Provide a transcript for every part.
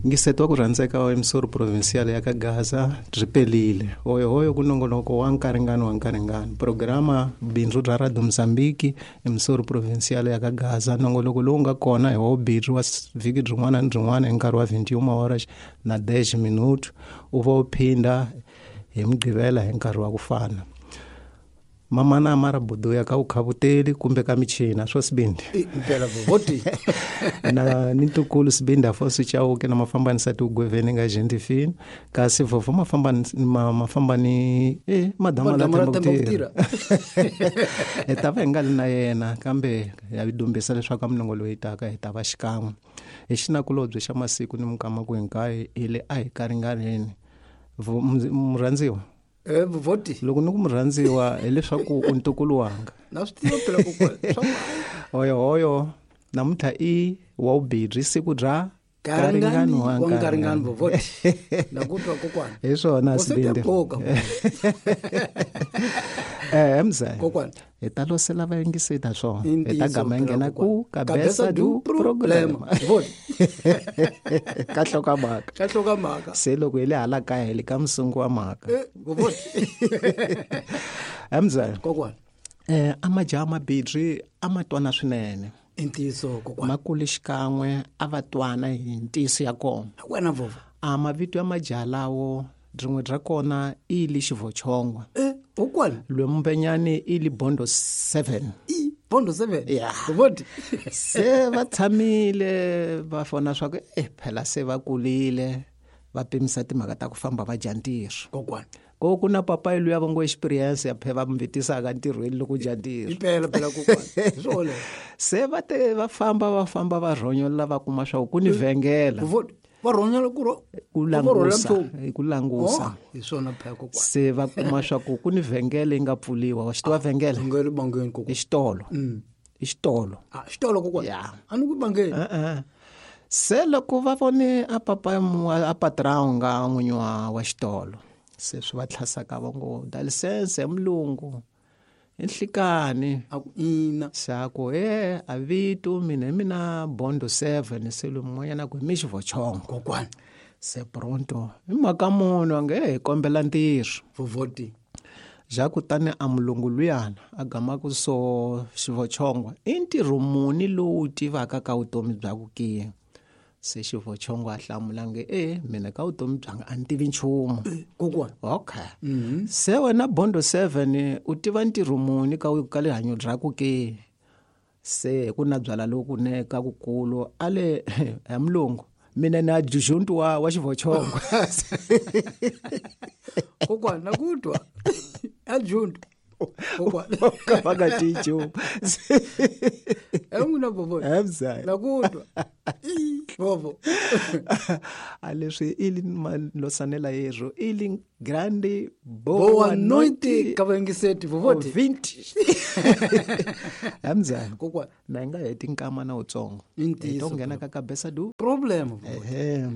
Ngiseto wa ku rhandzeka wa emisoro provincial ya ka Gaza byi pelile. Hoyohoyo ku nongonoko wa nkaringano wa nkaringano. Programa bindzu bya Radio Mozambique emisoro provincial ya ka Gaza nongonoko lowu nga kona hi wa bindzu wa vhiki byin'wana ni byin'wana hi nkarhi wa 21 horas na 10 minuto u va u phinda hi mugqivela hi nkarhi wa ku fana. Mamana mara buduya ka ukhavuteli kumbe ka michina swo sibindi impela vovoti na ni ntukulu sibindi afonso chauke na mafambanisa tigweveni nga gentifini kasi vovho mafambani e madama la Madama la themba ku Themba ku tirha hi ta va hi nga li na yena kambe ya dumbisa leswaku a minongo loyi taka hi ta va xikan'we hi xinakulobye xa masiku ni minkama ku hinkwayo hi le a hi karinganeni murhandziwa e vovoti loko ni ku murhandziwa hileswaku u ntukulu wanga na swi tiva phela kokwana swa hoyohoyo namuntlha i wa vubirhi siku bya karingani wa nkaringani vovoti na ku twa kokwana hi swona sibindi boka mzaya kokwana hi ta losela vayingisita swona I hi ta ntiyiso gama hi phela nghena ku kokwana. kabesa du problema problema vovoti ka hlokomhaka ka hlokomhaka se loko hi le hala kaya hi le ka musungu wa mhaka Eh, vovoti mzaya kokwana a majaha mabidri a ma twana swinene i ntiyiso kokwana ma kule xikan'we a va twana hi ntiyiso ya kona wena vovo a mavito ya majaha lawo rin'we ra kona i li xivochongwa e kokwana lwemumbenyani i li bondo 7 i bondo 7 Ya. vovoti se va tshamile va vona swa ku eh phela se va kulile va pimisa timhaka ta ku famba va dya ntirho kokwana ko ku na papayi luya va ngo experience ya phe va mi vitisaka ntirhweni loko dya ntirho impela phela kokwana hi swona se va te va famba va famba va rhonyola va kuma swa ku ku ni vhengela vovoti va rhonyela ku ro ku va rhwala langusa nchumu. hi ku langusa Oh, hi swona phela kokwana se va kuma swa ku ku ni vhengele yi nga pfuliwa wa xi tiva vhengele ngele bangeni i kokwana xitolo i xitolo ah xitolo kokwana Ya. a ni ku bangeni E-e. Se loko va vone a papa a patron nga n'winyi wa xitolo se swi va tlhasaka va ngo da lisense ya mulungu i nhlikani a ku ina se a ku e a vito mina hi mina bondo 7 se loyi mun'wanyana a ku hi mi xivochongo kokwana se pronto hi mhaka munhu a nge hi kombela ntirho vovoti ja kutani a mulungu luyana a gamaku so xivochongwa i ntirho muni lowu wu tivaka ka vutomi bya ku ke se xivochongo a hlamula nge e mina ka vutomi byanga a ni tivi nchumu kokwana okay se wena bondo 7 u tiva ntirho muni ka ka rihanyo bya ku ke se hi ku na byala loku ne ka kukulu a le ya mulungu mina na adjunct wa xivochongo kokwana na ku twa adjunct kokwana ka va nga tiyi nchumu e n'wina vovoti Emzaya. na ku twa Ii, vovo a leswi i li malosanela yerro i li grande boa boa noite noite ka vayingiseti vovoti ouvinte emzaya kokwana na hi nga heti nkama na wutsongo I ntiyiso, hi to nghena ka kabesa du problem vovoti ehe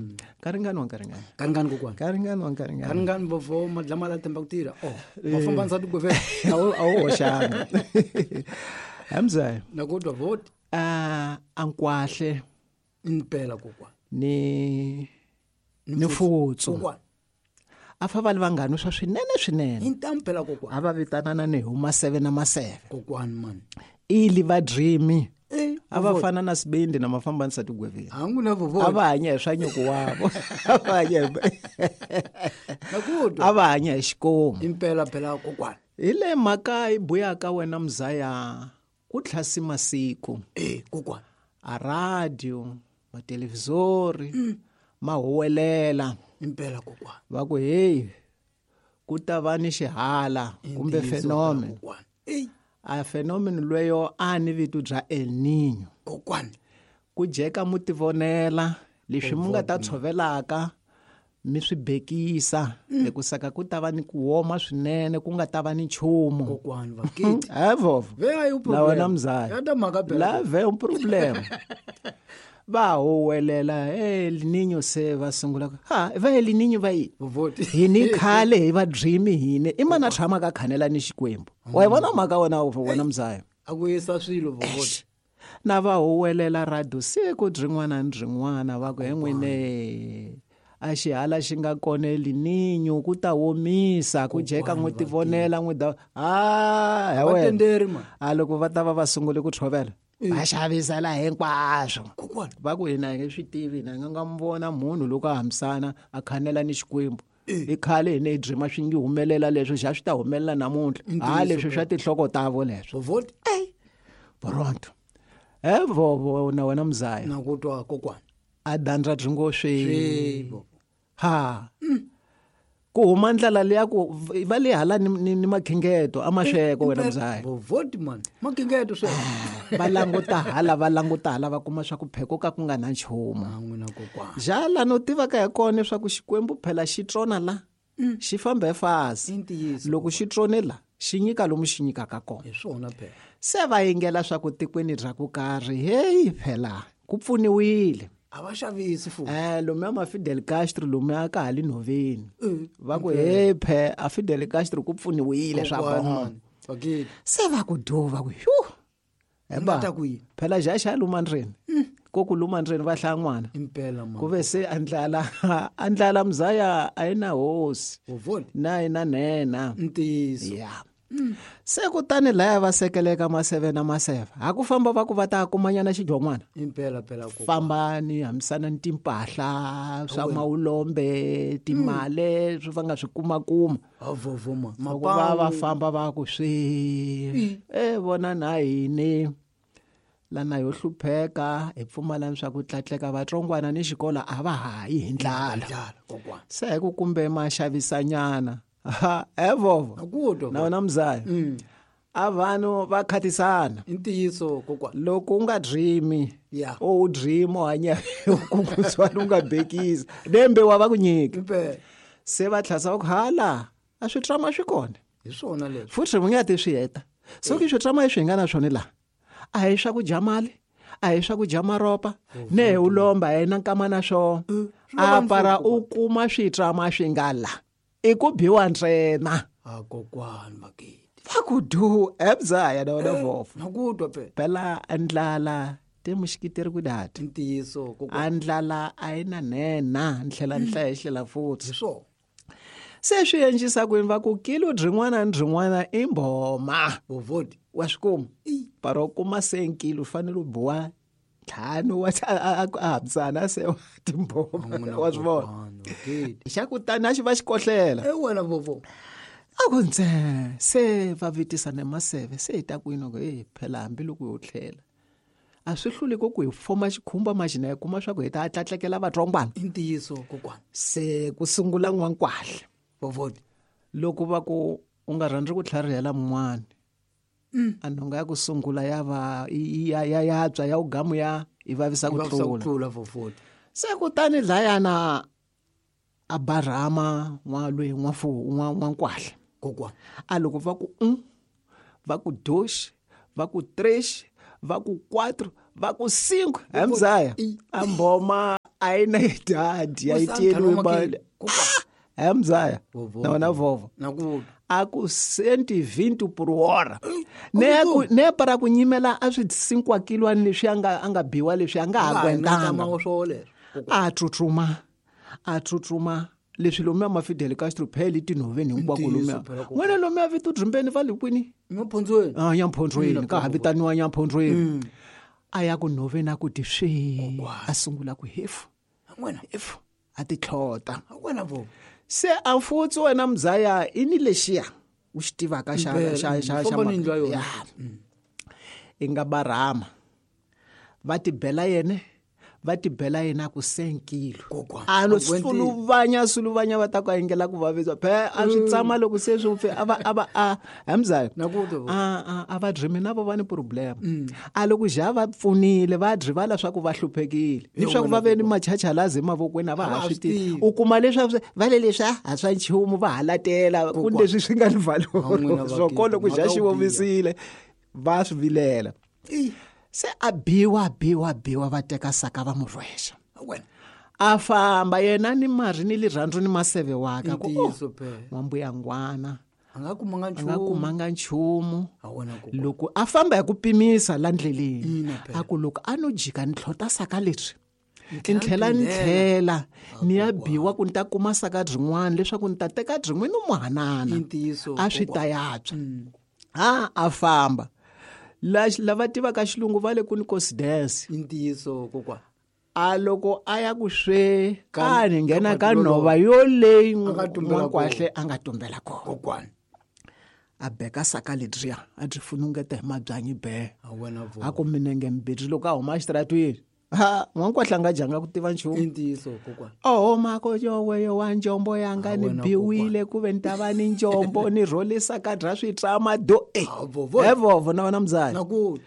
karingani wa nkaringani karingani kokwana karingani wa nkaringani karingani vovo madlama la themba ku tirha oh mafambanisa tigweveni a wu a wu hoxanga emzaya na ku twa vovoti a ankwahle impela kokwana ni ni futsu kokwana a fa va li vanghani swa swinene swinene i ntamu phela kokwana a va vitanana ni hi maseve na maseve kokwana mani ili va dreamy Eh, a va fana na sibindi na mafambanisa tigweveni ha n'wina a vovoti va hanya hi swa nyuku wavo a va hanya hi na ku twa a va hanya hi xikomu impela phela kokwana hi le mhaka yi buyaka wena mzaya ku tlhasi masiku e kokwana a radio mathelevhizori ma huwelela impela kokwana va ku heyi ku ta va ni xihala kumbe Ntiyiso phela, phenomen kokwana eyi a phenomen lweyo a ni vito bya El Niño kokwana ku jeka mu tivonela leswi mu nga ta tshovelaka mi swi bekisa hikusa ku ta va ni ku woma swinene ku nga ta va ni nchumu kokwana vakiti he vovo ve a yi na wena mzaya ya ta mhaka phela la ve un problema va huwelela El Niño se va sungula ku ha va El Niño va yini vovoti hini khale hi va dream hini i mana tshama ka khanela ni xikwembu wa yi vona mhaka wena wena mzaya a ku yisa swilo vovoti Na va huwelela radio siku byin'wana ni byin'wana va ku he n'wine a xihala xi nga koneli ninyu ku ta womisa ku jeka n'wi tivonela n'wi da a he wena a loko va ta va va sungule ku tshovela va xavisela hinkwaswo va ku hina hi nge swi tivi hina hi nga nga mi vona munhu loko a hambisana a khanela ni xikwembu i khale hi ne hi drima swi ngi humelela leswo xa swi ta humelela namuntlha ha leswi swa tinhloko tavo leswo pronto e vovo na wena muzaya na ku twa kokwana a dandra byi ngo swi ha ku huma ndlela leya ku va le hala ni, ni, ni makhingeto a masweko wena muzaya vovoti man makhingeto swe va languta hala va languta hala va kuma swa ku pheko ka ku nga na nchumu n'wina kokwana jala no tiva ka hi kona leswaku xikwembu phela xi tsona la xi famba hi fasi I ntiyiso, loko xi tsone la xi nyika lomu xi nyikaka kona hi swona phela se va yingela swa ku tikweni ra ku karhi heyi phela ku pfuniwile a va xavisi futhi lomuya ma Fidel Castro lomuya ka ha le nhoveni va ku hey phe a Fidel Castro ku pfuniwile swa Kokwana, bona man. Bakiti. Se va ku do va ku yu Nga ta ku yini? Phela xa xa luma ndzeni ko ku luma ndzeni va hlaya n'wana Impela man. Ku ve se andlala andlala mzaya a yi na hosi Vovoti. Na yi na nhenha Ntiyiso. Ya se kutani laya va sekeleka maseve na maseve ha ku famba va ku va ta kumanyana xidlon'wana Impela phela kokwana. Fambani hambisana ni timpahla swa mawulombe timale swi va nga swi kumakuma Avovo man. loko va va famba va ku swi e vona na hini lana yo hlupheka hi pfumalani swa ku tlatleka vatsongwana ni xikolo a va ha yi hi ndlala Ndlala kokwana. Se hi ku kumbe ma xavisanyana ha evovo Na ku twa. Na wena mzaya a vanhu va khatisana I ntiyiso kokwana. Loko u nga dreami Ya. o u dream u hanya kungutswana u nga bekisi lembe wa va ku nyika Impela. Se va tlhasa va ku hala a swi trama swi kona Hi swona leswi. Futhi mi nga ti swi heta so ki swi trama leswi hi nga na swona laha a hi swa ku dya mali a hi swa ku dya maropa ne hi u lomba hi na nkama na swona a para u kuma switrama swi nga la i ku biwa ntsena A kokwana bakiti. Va ku du ebzaya na wena vovo Na ku twa phela. Phela ndlala te muxikiteri ku dati I ntiyiso kokwana. A ndlala a yi na nhenha ni tlhela ni hlaya hi tlhela futhi Hi swona. Se swi endlisa ku yini va ku kilo byin'wana ni byin'wana i mbhoma Vovoti. Wa swi kuma para u kuma se nkilo u fanele u biwa ntlhanu wa a hambisana se wa timbhoma N'wina wa swi vona kokwana, bakiti. Xa kutani a xi va xi kohlela E wena vovo. A ku ntse se va vitisana maseve se hi ta kwini ku hey phela hambiloko yo tlhela a swi hluli ku ku hi foma xikhumba maxina hi kuma swa ku hi ta tlatlekela vatsongwana I ntiyiso kokwana. Se ku sungula n'wankwahla Vovoti. Loko va ku u nga rhandzi ku tlharihela mun'wana a nhonga ya ku sungula ya va ya ya ya tswa ya ugamu ya i vavisa ku I vavisa ku tlula tlula vovoti. Se kutani dlayana a barhama n'walwe n'wafu n'wankwahla Kokwana. A loko va ku 1 va ku 2 va ku 3 va ku 4 va ku 5 hemzaya a mboma a yi na idadi ya yi tiyeliwe mali hemzaya na wena vovo Na ku a ku 120 por hora ne ku ne para ku nyimela a swi sinkwakilwani leswi a nga a nga biwa leswi a nga ha kwentanga wa swo leswo. A tsutsuma a tsutsuma leswi lomuya ma Fidel Castro phela tinhoveni hinkwako Ntiyiso lomuya phela kokwana. n'wina lomuya vito drimbeni va le kwini Nyamphondzweni. A nyamphondzweni ka ha vitaniwa nyamphondzweni a ya ku nhoveni a ku ti swi a sungula ku hefu Wena. hefu a ti tlhota Wena vovo. Se a futsi wena mzaya i ni lexiya u xi tivaka xa Impela, xa xa xa famba ni yindlu ya yona. Ya. I nga barhama va tibela yene va tibela yena ku senkilo Kokwana, a lo a gwentile. suluvanya suluvanya va ta ku engela ku vavisa phe a swi tsama loko se swi pfe a va a va a hamzaya Na ku twa, a a a va dream na vo va ni problem a loko ja va pfunile va drivala swa ku va hluphekile ni swa ku va ve ni machachalazi emavokweni a va ha swi tivi u kuma leswaku va le leswi a swa nchumu va halatela ku Kokwana. leswi swi nga ni valoro N'wina swo bakiti, ko loko ja mhaka xi yo biha. vovisile va swi vilela se a biwa biwa biwa va teka saka va mu rhwexa Wena. A famba yena ni mari ni lirhandzu ni maseve waka ku Ntiyiso phela. n'wambuya ngwana A nga kumanga A nga nchumu. kumanga nchumu. A wena kokwana. Loko a famba hi ku pimisa la ndleleni, Ina phela. a ku loko a no jika ni tlhota saka leswi, Ni ni tlhela ni tlhela ni ya biwa ku ni ta kuma saka byin'wana leswaku ni ta teka byin'we ni mu hanana. I ntiyiso, A swi ta kokwana. yantswa. A famba. Lava tivaka xilungu va le ku ni coincidence. I ntiyiso kokwana. A loko a ya ku swe Ka a ni nghena ka ka patu nhova yoleyi A nga tumbela N'wankwahle a nga tumbela kona. Kokwana. A beka saka ledyiya a byi funungeta hi mabyanyi be. A wena vo. A ku minenge mbirhi loko a huma exitaratweni. Ha, N'wankwahle a nga dyanga ku tiva nchumu. I ntiyiso kokwana. Oho mako yowe yowa njombo yanga A ni wena biwile ku ve ni ta va ni njombo ni rhole saka dya switrama do e. A vovo. He vovo na wena mzali. Na ku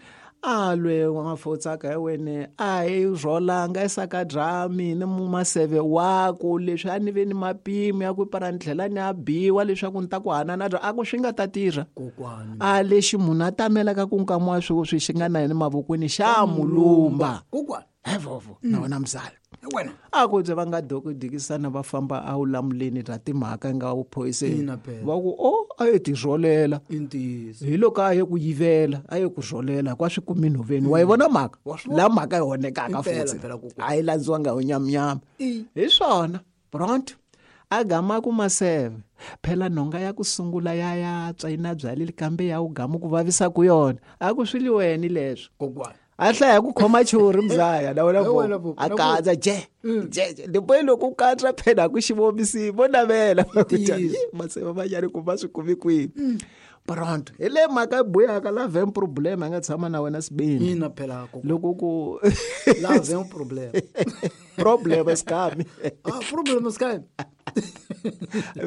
A lwe n'wafotsaka hi wene a hi rholanga esaka dya mina mu maseve waku leswi a ni ve ni mapimo ya ku para ni tlhela ni ya biwa leswaku ni ta ku hanana bya a ku swi nga ta tirha. Kokwana. A lexi munhu a tamelaka ku nkama wa sweswi xi nga na yena mavokweni xa mulumba. Kokwana. He vovo na wena mzali. Wena. A ku bye va nga dokidikisana va famba a wu lamuleni ra timhaka nga wu phoyiseni. Ina phela. Va ku o a ye tirholela. I ntiyiso. Hi loko a ye ku yivela, a ye ku rholela kwa swi kumi nhoveni. Wa yi vona mhaka? Wa swi vona. La mhaka yi honekaka Impela futhi. phela kokwana. A yi landziwanga hi nyamnyama. I. Hi swona. Pronto. A gama ku maseve. Phela nhonga ya ku sungula ya yatswa yi na byalile kambe ya wu gama ku vavisa ku yona. A ku swi li weni leswo. Kokwana. A hlaya ku khoma churi mzaya na wena He wena vo. vo, A na ku- katsa je. Je je. Ndipo loko u katsa phela ku xivomisi vo navela. Ntiyiso. Maseve va nyari ku va swi kumi kwihi. Pronto. Hi le mhaka yi buyaka la vem problem a nga tshama na wena sibini. Ina phela kokwana. Loko ku La vem problem. problem esikami. Ah, problem sky.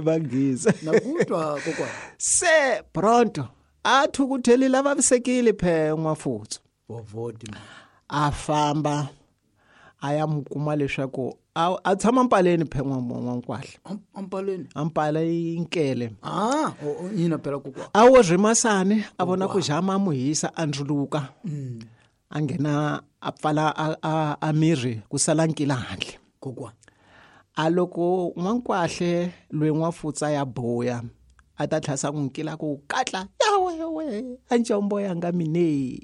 Vangisa. Na ku twa kokwana. Se pronto. A thukuthelile a vavisekile phe n'wafutsu. Vovoti. A famba a ya mu kuma leswaku a tshama mpaleni phe n'wankwahle. Ampaleni. Ampala yi nkele. Ah, ina phela kokwana. A wo rhimasani a vona ku jama a mu hisa a ndzuluka. A nghena a pfala a mirhi ku sala nkila handle. Kokwana. A loko n'wankwahle loyi n'wafutsa ya boya a ta tlhasa ku nkila ku katla yawe yawe a njombo yanga mine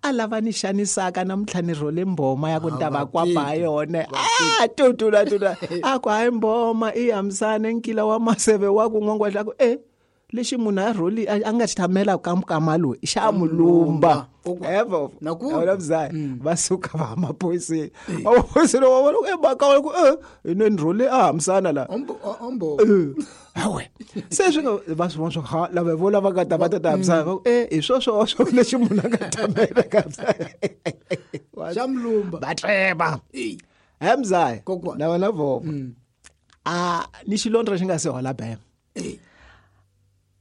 a lava ni xanisaka namuntlha ni rhole mboma ya ku ni ta va kwapa ha yona. A tutula tutula a ku hayi mboma i hambisane nkila wa maseve wa ku n'wankwahle a ku e lexi munhu a rholi a nga xi tshamela ka mukama loyi xa mulumba. Evo. Na ku- Wena mzaya va suka va ya maphoyiseni. Maphoyiseni wa vona ku e mhaka wa ku e hi ni rhole a hambisana la. Ombo ombo. Hawe. Se swi nga va swi vona swa ha lava vo lava nga ta va ta ta hambisana va ku e hi swo swo swo lexi munhu a nga tamela ka hambisana. Xa mulumba. Va treba. Ei. He mzaya. Kokwana. Na wena vovo. A ni xilondza xi nga se hola bema. Ei.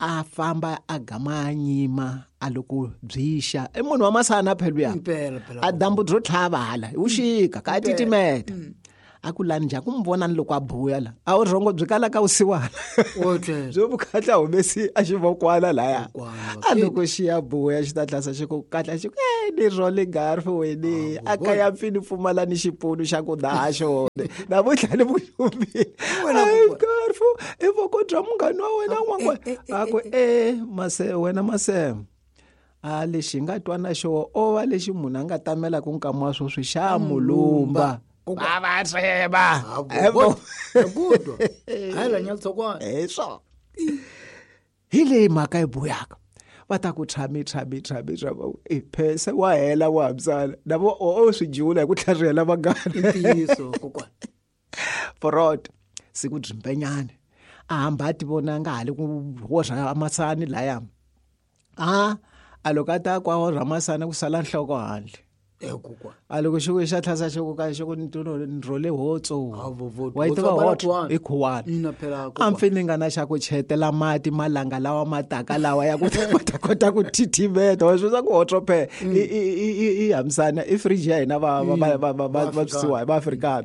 A famba a gama a nyima a loko byixa i munhu wa masana phela luya. Impela phela. A dyambu byo tlhava hala hi vuxika ka titimeta. A ku lani njhani ku mi vona ni loko a buya la a wu rhongo byi kalaka vusiwana. O tlela. Byo vukhatla humesi a xi vokwana laya. Kokwana, A loko xi ya buya xi ta tlhasa xi ku katla xi ku e ni rhole garfu wene a kaya pfi ni pfumala ni xipunu xa ku daha xona. Namuntlha ni vuxumbile. Wena Ai kokwana. garfu i voko bya munghana wa wena n'wan'wana. A ku e mase wena maseme. A lexi hi nga twana xo o va lexi munhu a nga tamela ku nkama wa sweswi xa mulumba. Va va tseba. Evo. Na ku twa. Hayi la nyatsokwana. Hi swona. Hi leyi mhaka yi buyaka. Va ta ku tshami tshami tshami tshami e phese wa hela wa hambisana. Na vo o swi jula hi ku tlharihela vanghana. Ntiyiso kokwana. Forot siku dzimbenyane. A hamba a ti vona nga hali ku horha masani laya. A a loko a ta kwa horha masani ku sala nhloko handle. E kokwana. A loko xi ku xa tlhasa xi ku ka xi ku ni rhole hotso. Ha vovo. Wa yi tiva Hotso hotso khuwana. i khuwana. Ina phela A kokwana. mpfini nga na xa ku chetela mati malanga lawa mataka lawa ya ku va ta kota ku titimeta. Wa swi swa ku hotso phe i hambisana i fridge ya hina va va va va va va va va Afrika.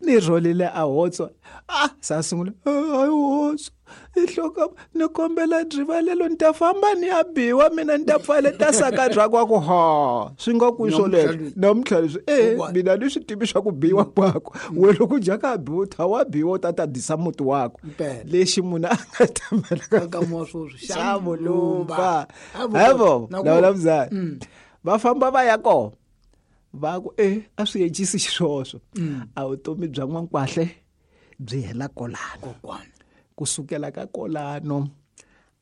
Ni rholile a hotso. Ah sa sungula hayi hotso. Nhloko ni kombela rivalelo ni ta famba ni ya biwa mina ni ta pfaleta saka bya kwa ku ha swi nga ku swoleswo namuntlha leswi e mina ni swi tivi swa ku biwa kwako we loko dyaka biwa ta wa biwa u ta ta disa muti wako lexi munhu a nga tamelaka xa mulumba hevo lawula muzali va famba va ya kona va ku e a swi encisi xiswoswo a vutomi bya n'wankwahle byi hela kolano kokwana kusukela ka kolano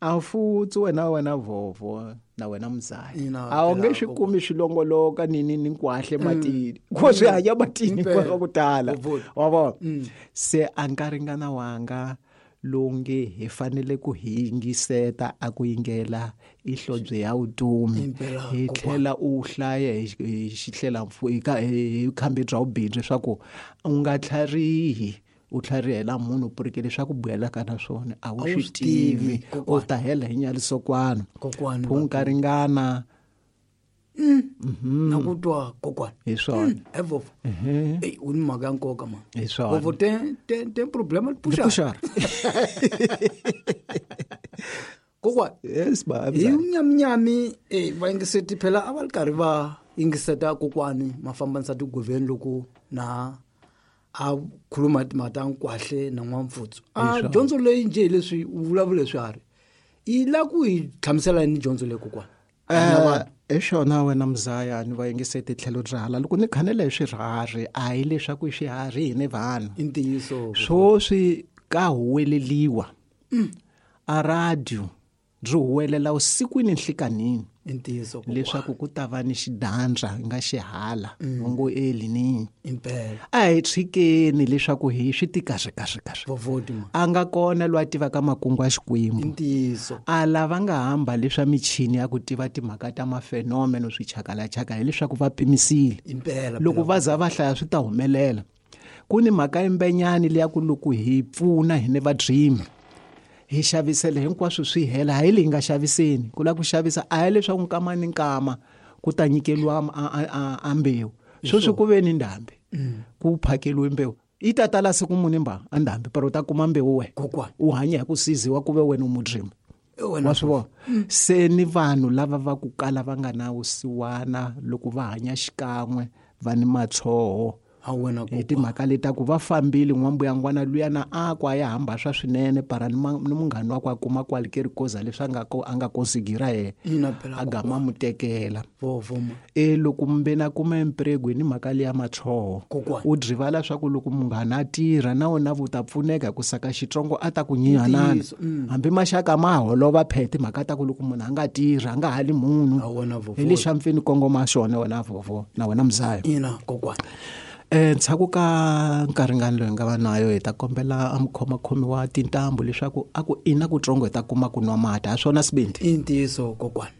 a futsi wena wena vovo na wena muzali a wu nge swi kumi swilongoloka ni ni ni nkwahle matini ko swi hanya matini kwa ku tala wa vona se a nga ringana wanga lowu nge hi fanele ku hi yingiseta a ku yingela ihlobye ya vutomi hi tlhela u hlaya hi xihlelamfu hi khambi bya vubindzu leswaku u nga tlharihi u tlharihela munhu purike leswaku buyelaka na swona a wu swi tivi u ta hela hi nyalisokwano phunka ringana na ku twa kokwana hi swona evovo eyi u ni mhaka ya nkoka ma hi swona vovo te te te problema puxara kokwana yes ba hi nyaminyami e vayingiseti phela a va ri karhi va yingiseta kokwani mafambanisa tigoveni loko na a khuluma timhaka ta nkwahle na n'wampfutsu a dyondzo leyi njhe hi leswi u vulavula swiharhi yi la ku hi hlamusela yini dyondzo leyi kokwana hi xona wena muzaya ni va yingiseti tlhelo bya hala loko ni khanela hi swiharhi a hi leswaku i swiharhi hi ni vanhu i ntiyiso swoswi ka huweleliwa a radio byi huwelela usikwini nhlikanini i ntiyiso leswaku ku ta va ni xidandza nga xihala va ngo eli impela a hi tshikeni leswaku hi swi ti kahle kahle kahle vovoti ma a nga kona loyi a tivaka makungu ya i xikwembu ntiyiso a lava nga hamba leswa michini ya ku tiva timhaka ta mafenomeno swichakalachaka hileswaku va pimisile impela loko va za va hlaya swi ta humelela ku ni mhaka yimbenyani leya ku loko hi pfuna hi ne vadrimi hi xavisele hinkwaswo swi hela hayi leyi nga xaviseni ku lava ku xavisa a hi leswaku nkama ni nkama ku ta nyikeliwa a mbewu sweswi ku ve ni ndhambi ku phakeliwe mbewu yi ta tala siku muni mba a ndhambi pero u ta kuma mbewu wena kokwana u hanya hi ku siziwa ku ve wena u mudrimi wena wa swi vona se ni vanhu lava va ku kala va nga na vusiwana loko va hanya xikan'we va ni matshoho a wena hi timhaka leti ku va fambile n'wambuyangwana luya na a ku a ya hamba swa swinene para ni munghani wakwe a kuma kwalikeri koza leswi a nga a nga kosigira yena ina phela a gama mu tekela vovo ma e loko mbeni a kuma emprego hi ni mhaka liya matshoho Kokwana. u drivala swa ku loko munghana a tirha na wena vu ta pfuneka hi ku saka xitsongo a ta ku nyihanana Ntiyiso, hambi maxaka ma holova phe timhaka ta ku loko munhu a nga tirhi a nga hali munhu A wena vovo. hi lexi a mpfeni kongoma xona wena vovo na wena mzayo ina kokwana ndzhaku ka nkaringano loyi hi nga va nayo hi ta kombela a mukhomakhomi wa tintambu leswaku a ku ina kutsongo hi ta kuma ku nwa mati ha swona sibindi i ntiyiso kokwana